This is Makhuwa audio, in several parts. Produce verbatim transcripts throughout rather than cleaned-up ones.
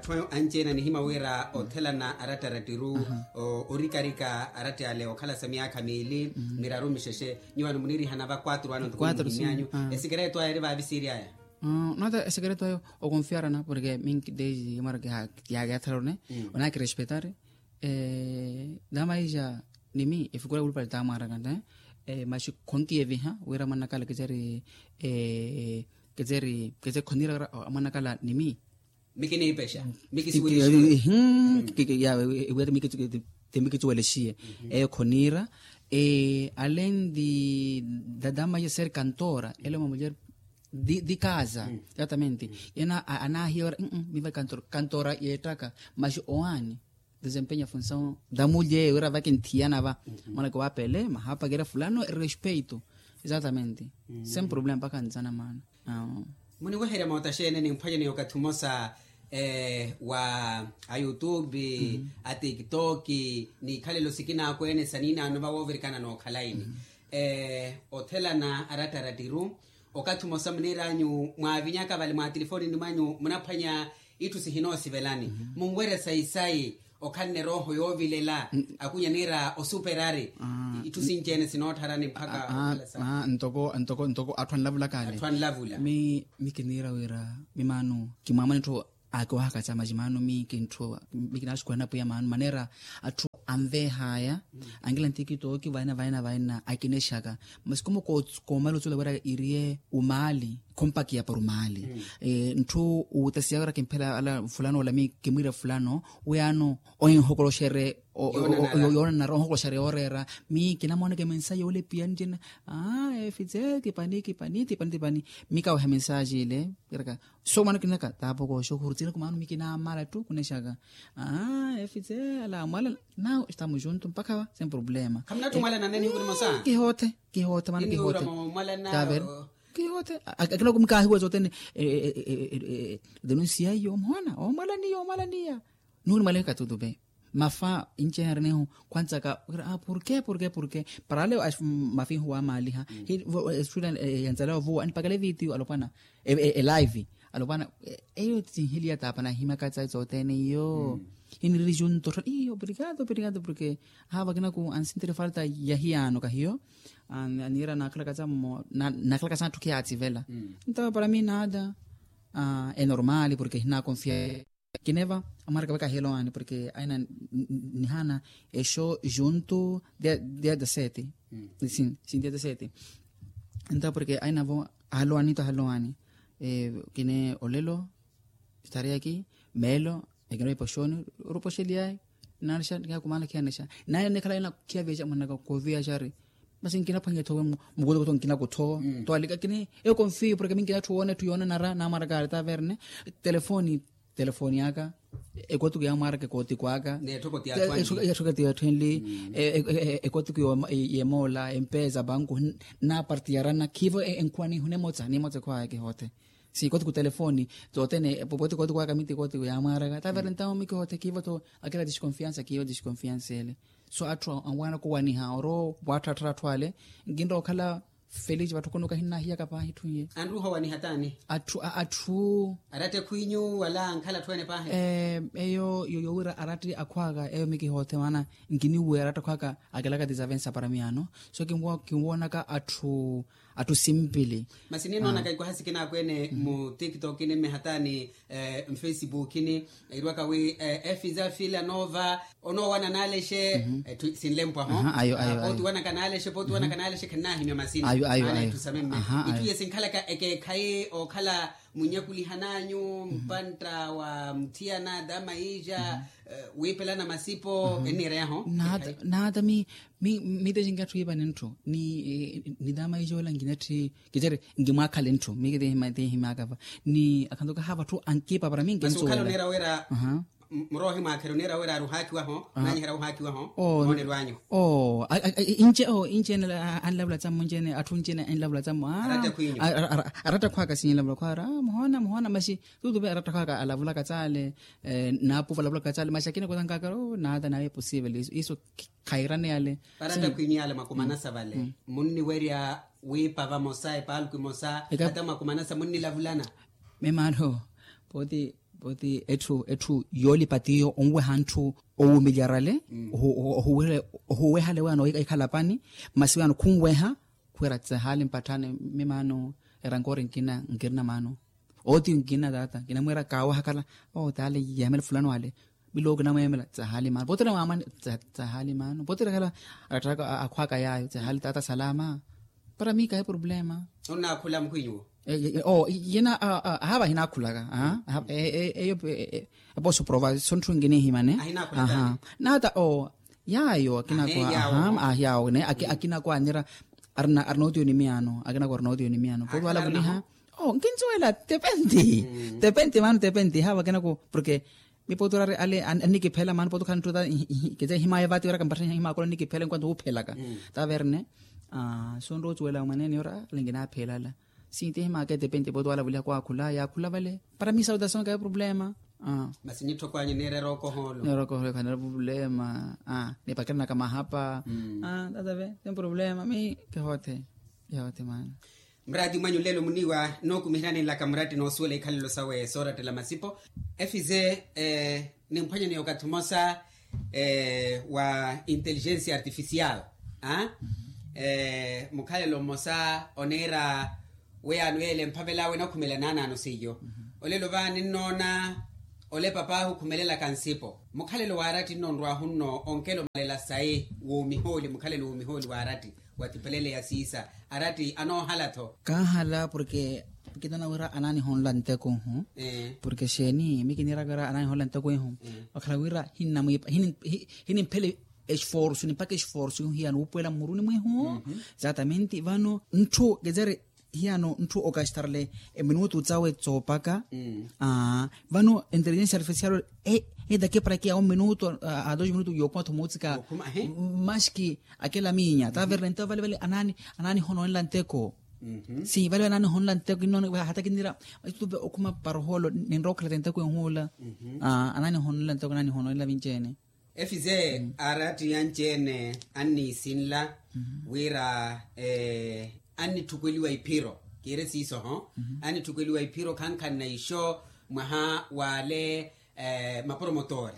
Atthu anci-ene anihimya wira othelana aratta arattiru, orikarika aratta ale okhala sa myaakha miili miraru mixexe. Nyuwo ano munirihana va quatro ano ntuku nimuhimyanyu. Esikereto aya eri vaavi siiri aya. Nota esikereto ayo okonfiarana porke minki desi mara kiyaatharone, onakirespetari. Dama ija nimi efikura wulupale tamwarakanta. Maxi khonkiyeviha wira mwanakala kiceri kiceri kiceri khonira wira mwanakala nimi. Mikiniipexa mikisiwelixiye. Ewiya ti mikitsuwelexiye. Eyo khonira. Alendi dadama ya ser kantora ele uma mulher di casa. Exatamente. Yena anahiya ora miva kantora kantora yeettaka maxi owaani. Desempeña funsaw damulye wira vakinthiyana va mwanaka wapele mahapakira fulano erespeito. Exatamente. Sem problema mpakha nzana maana. Muniweherya mootaxene nimphwanyeni okathi umosa wa a youtube, a tiktok, n'ikhalelo sikinaakweene saninaano vawoovirikana n'okhalaini. Othelana aratta arattiru okathi umosa muniiranyu mwaavinyaka vale mwaatilifonini mwanyu munaphwanya itthu sihinoosivelani. Munwerya sayi-sayi okhanne erooho yoovilela. Akunya niira osuperari itthu sinci-ene sinoottharani mpakha okhala sa. Ntoko ntoko ntoko atthu anlavulaka ale. Atthu anlavula. Mi mi kiniira wira mi maano kimwaamana etthu akiwahaka ca maxi maano mi kintthu mi kinaaxukuhana pwiya maano maneera atthu anveehaya. Ankila ntikitoki vaina vaina vaina akinexaka masi komo koomala otsula wira iriye umaali. Khompakiya para umaali. Ntthu uutasiya wira kimphela ala fulano ola mi kimwiira fulano wiyaano ohinhokoloxerye yoonanara ohinhokoloxerye yooreera. Mi kinamoonaka emensaji yoolepiya ncina efitse tipani tipani tipani tipani. Mi kaweha mensaji ile. Wiraka so mwaano kinaka taapokooxa ohurutsina kumaano mi kinaamala ttu kunexaka. Efitse ala mwalana nawe estamos junto mpakha va sem problema. Khamunatthi mwalana nene hikurimosa. Kihoothe kihoothe mwaano kihoothe. Tavere kihoothe. Akina kumikaahiwa sothene. Denunsiya iyo mhoona omwalaniya omwalaniya. Nuuri mwalekha tutupe mafa inci eharenehu. Khwantsaka wira porke porke porke para ale mafihu wamaaliha. Estudent yantsala ovuwa anipakale vitiyo alopwana elive alopwana. Eyo tinhiliya taapa nahimyaka tsayi tsothene iyo. Hiniriri junto iyo obrigado obrigado porke aha vakinaku ansintire falta ya hiyaano kahiyo. Aniira naakhalaka tsammo naakhalaka satthu khiyaatsivela. Ntawe para mi nada enormali porke hinakonfia. Kineva amwaraka vaka hilowaani porke aina nihana exo junto dia dia sete. Sin dia sete. Ntawe porke aina vo ahalowaani to ahalowaani. Kine olelo estareyaki meelo ekina oipoxoni orupoxeliyayi. Naanexa nikihakumana khiyanexa naye nikhala ina khiyavixa mwanaka kooviyaxari. Masi nkinaphwanya ethowe mukutukutu nkinakutho. Towalika kini eyo konfiyo porke mi nkinatthu woona etthu yoonanara naamwaraka ari taverne. Telefoni telefoni aka ekotiku yaamwaraka ekootiku aka. Etthokoti yaatthu enli ekotiku yemoola empesa banku. Naapartiyarana khiivo enkhuwa nihu nemotsa nimotsa ekhwaya kihoothe. Si koti ku telefoni totene popote koti kwaka miti koti yamwaraka tavere ntawo miki hote kiivo to. Akela disconfiansa kiivo disconfiansa ele so atthu anwaana kowaniha oro waatthaattha atthu ale. Nkinrowa okhala felici vatthu kono kahinnahiyaka paahi itthu iye. Anruha owaniha taani atthu atthu aratta ekhwinyu wala ankhala atthu ene paahi. Eyo yowira aratta akhwaka eyo miki hote maana nkiniwuwe aratta akhwaka akelaka tizavensa para miyaano. So kinwoonaka atthu atthu simpili. Masi ninoonaka ikwaha sikinaakweene mu tiktokini mmehatani mfacebookini. Irwaka wi efiza fila noova onoowana naalexe. Sinlempwaho pooti wanaka naalexe pooti wanaka naalexe khennaahimya masina. Maana itthu samimme itthu ye sinkhalaka ekeekhayi ookhala munnyakulihan'anyu mpantta wa mutthiyana dama iija wiipelana masipo enniireyaho. Naata mi miitexinki atthu yiipani ntthu ni dama iija ola nkinatthi kicere nkimwaakhale ntthu mi kitiihimyaka va ni akhantuka haava atthu ankiipa para mi nkinsuwela. Muroohi mwaakhere oniira wira aruhaakiwaho. Naanyiherya wuhaakiwaho. Moonelo anyu oo inci oo inci ene anlavula tsammo inci ene atthu inci ene enlavula tsammo. Aratta akhwaka sinlavula khwara muhoona muhoona maxi tutupe aratta akhwaka alavulaka tsale. Naapuva alavulaka tsale maxi akina kutankaka oo naata naye posivel iso khayirane yale. Aratta khwinyu yale mwakumanasa vale munniwerya wiipa vamosa epaaluku emosa hata mwakumanasa munnilavulana. Memaalo pooti Pooti etthu etthu yoolipa tiyo onweha ntthu owuumiliyarale ohuwehale weya nohikhala pani. Masi weyano khunweha khwira tsehaali mpatthani. Mimaano erankoori nkina nkirina maano. Ooti nkina taata kinamwiira kaawahakhala. Oo taale yemela fulano ale. Miloowo kinamwemela tsehaali maano pooti ole waamani. Tsehaali maano pooti ole khala aratthaka akhwaka yaayo tsehaali taata salama. Para mii kahi problema. Onnaakhula mukhwinyu wo? Oo yina ahaava ahinaakhulaka. Eyo eposo provaso ntthu nkinihimane. Naata oo yaayo akinaku ahaava ahiyawo ne akinaku anira. Arina otiyo ni miyaano akinaku arina otiyo ni miyaano pooti wala vuliha. Oo nkinsuwela tepenti. Tepenti maano tepenti haava akinaku porke mipooti orari ale annikiphela maano pooti okhala ntthu ta kece himaya vaati wira kampattha himakola nnikiphela enquanto wuuphelaka. Taverne. Sonrowa ocuwela mwanene ora ale nkinaaphela ala. Sinti himaka etepenti pooti wala vuliha kwaakhula yaakhula vale para mi saudason kayo problema. Masi nitthoko anyu neerera okohoolo. Neerera okohoolo khanera problema. Nipakiranaka mahapa. Tatave ten problema mi kihothe. Kihothe maana. Muraati mwanyu lelo muniiwa nookumihiranenlaka muraati noosuwela ikhalelo sawe soorattela masipo. Efize nimphwanyaneya okathi mmosa wa intelligencia artificial. Mukhalelo mmosa oneera weyano yeele mphavela wenakhumela naanaano seiyo. Olelo va ninnoona ole papahu khumelelaka nsipo mukhalelo waaratti nnonrwahu nno onkela omalela sayi woomihooli mukhalelo woomihooli waaratti. Watipelele ya siisa aratti anoohala-tho. Kaahala porke kinana wira anaanihonla nteko ihu. Porke xeeni mi kiniiraka wira anaanihonla nteko ihu. Vakhala wira hinnamwiipa hinimphela esforsu nimpaka esforsu ihu hiyano wuupuwela mmuruni mwihu. Exatamente vano ntthu kecere hiyano ntthu okastarle eminutu cawe coopaka. Vano inteligensia artificial etakiparakiya ominutu a dos minutu yookuma-tho muutsika. Maski akela miinya taverne nto vale vale anaanihononela nteko. Si vale vale anaanihononela nteko innoona hata kinira. Maitupe okhuma paroholo ninrowa okhalata nteko ihuula. Anaanihononela nteko anaanihononela vinci-ene. Efize aratti anci-ene anniisinla wira annitthukweliwa iphiro kiire siisoho. Annitthukweliwa iphiro khankhanna ixo mwaha wale mapromotori.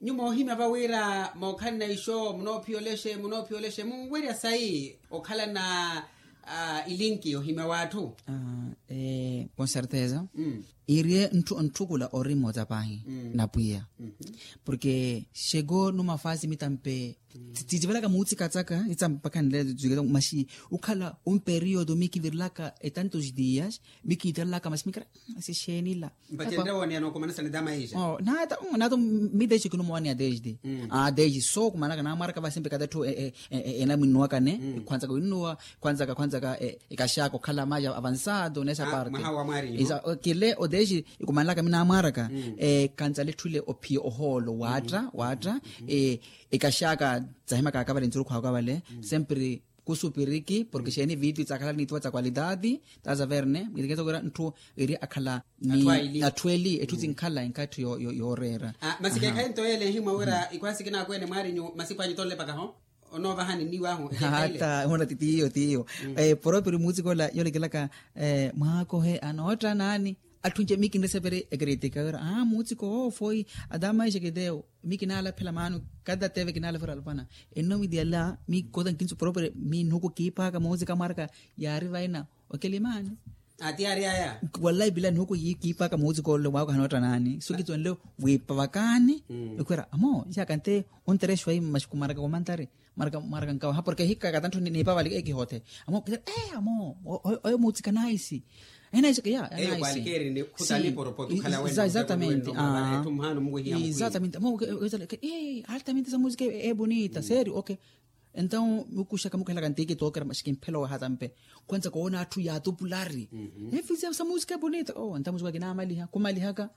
Nyuwo moohimya va wira mookhalana ixo munoophiya olexe munoophiya olexe munwerya sayi okhalana ilinki ohimya w'atthu. Con certeza iiriye ntthu ontthukula ori mmoca paahi na pwiya. Porke xeko numa faasi mitampe titivelaka muutsikatsaka itsampakhanle maxi ukhala un periodo mikivirilaka etantos dias mikiitalelaka maxi mikira. Masi xeenila mpace nrewoneya nookumanasana tamaisha. Naata naata mitexi kinumooneya desde desde sookumanaka naamwaraka vasempe kata etthu enaminnuwakane khwanzaka winnuwa khwanzaka khwanzaka ekaxaka okhala mais avansado nesa parte. Kile otexi ikumanlaka minaamwaraka kanzala etthu ile ophiya ohoolo waatta waatta ekaxaka tsahimaka akavale nsurukhu akavale sempre kusupiriki porke xeeni viitu itsakhala niituwa tsa kwalitati. Tazaverne mwiteketokera ntthu eri akhala ni atthu eli etthu tsinkhala enkatthi yooreera. Masi keekhayi nto yeele nhimwa wira ikhwaasi kinaakwene mwaarinyu masipu anyu tonlepakaho onoovahani nniiwahu. Hata ehuna titiyo tiyo poropiri muutsikola yoolekelaka mwaakohe anootta naani. Atthu nce mi kinreseperi ekritika wira aa muutsiko oofoi ata maisha kitewo mi kinaalaphela maano kata teve kinaalaphela alopana. Enno mitiyala mi kota nkinsu poropiri mi nnuku kiipaaka muutsika mwaraka yaari vaina okelimaani. Ati yaari aya walayi pila nnuku kiipaaka muutsika ollo mwaako hanotta naani so kitsonle wiipa vakaani. Ekhwira amo nxaka nte onterexiwa yi mmaxiku mwaraka komantari mwaraka mwaraka nkawaha porke hikaka tanthu niipa vali ekihothe amo kithera ee amo oyo muutsika naisi. Enaiseke ya eyo kwalikeerini khutani poropoti okhala wene exatamente. Exatamente amo altamente esa musika ebonita seri ok. Entaw mukuxaka mukuhelaka ntikitookera maxikimphela owahatampe khwanzaka oona atthu yaatupulari efizia sa musika ebonita o entaw musika kinaamaliha khumalihaka.